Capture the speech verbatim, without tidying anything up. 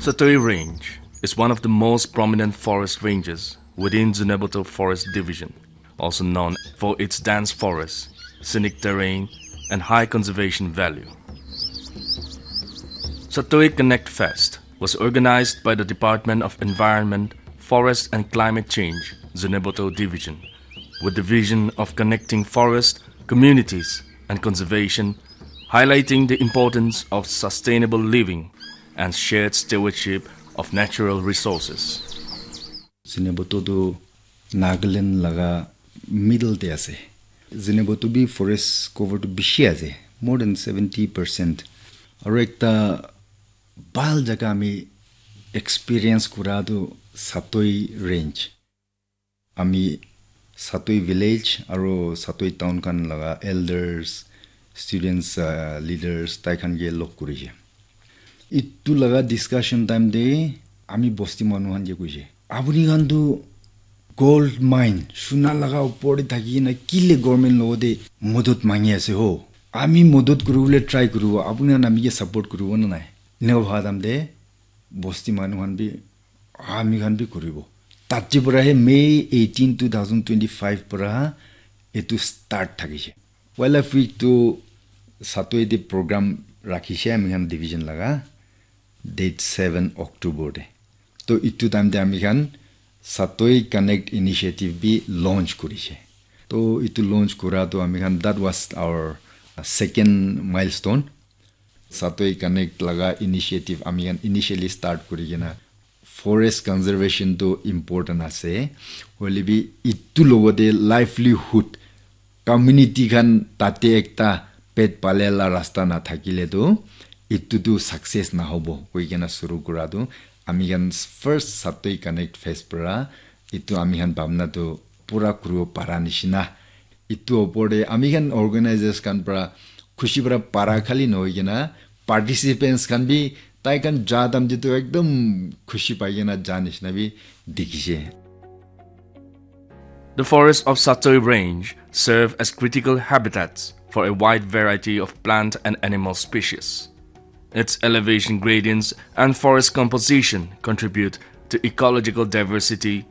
Satoi Range is one of the most prominent forest ranges within Zunheboto Forest Division, also known for its dense forest, scenic terrain, and high conservation value. Satoi Connect Fest was organized by the Department of Environment, Forest and Climate Change, Zunheboto Division, with the vision of connecting forest, communities, and conservation, highlighting the importance of sustainable living and shared stewardship of natural resources. Zunheboto tu Nagaland laga middle te ase. Zunheboto bi forest cover tu bishi ase, more than seventy percent. Aru ekta bhal jaga ami experience kura tu Satoi Range. Ami Satoi village aru Satoi town khan laga elders, students, uh, leaders tai khan ke log kurishe. Itu laga discussion time te ami bosti manu khan ke kuishe, "Apuni khan tu gold mine, suna laga upor te thaki na kile government logo te modot mangi ase ho? Ami modot kuribole try kuribo, apuni khan ami ke support kuribo na nai?" Eneka bhaba time te bosti manu khan bi, "Ami khan bi kuribo." Tate para he May eighteen, two thousand twenty-five para etu start thakishe. Wildlife Week tu Satoi te program rakhishe ami khan division laga, date seven October te. To itu time te ami khan Satoi Connect Initiative bi launch kurishe. To itu launch kura to ami khan, that was our, uh, second milestone. Satoi Connect laga initiative ami khan initially start kuri kena, forest conservation tu important ase, hoile bi itu logote livelihood, community khan tate ekta pet pale la rasta na thakile tu itu tu success na hobo koi kena suru kura tu ami khan first Satoi Connect Fest para itu ami khan bhabna tu pura kuribo para nishina. Itu opor te ami khan organizers khan para khushi para para khali nohoi kena, participants khan bi tai khan ja time te tu ekdom khushi pai kena ja nishina bi dikhishe. The forests of Satoi Range serve as critical habitats for a wide variety of plant and animal species. Its elevation gradients and forest composition contribute to ecological diversity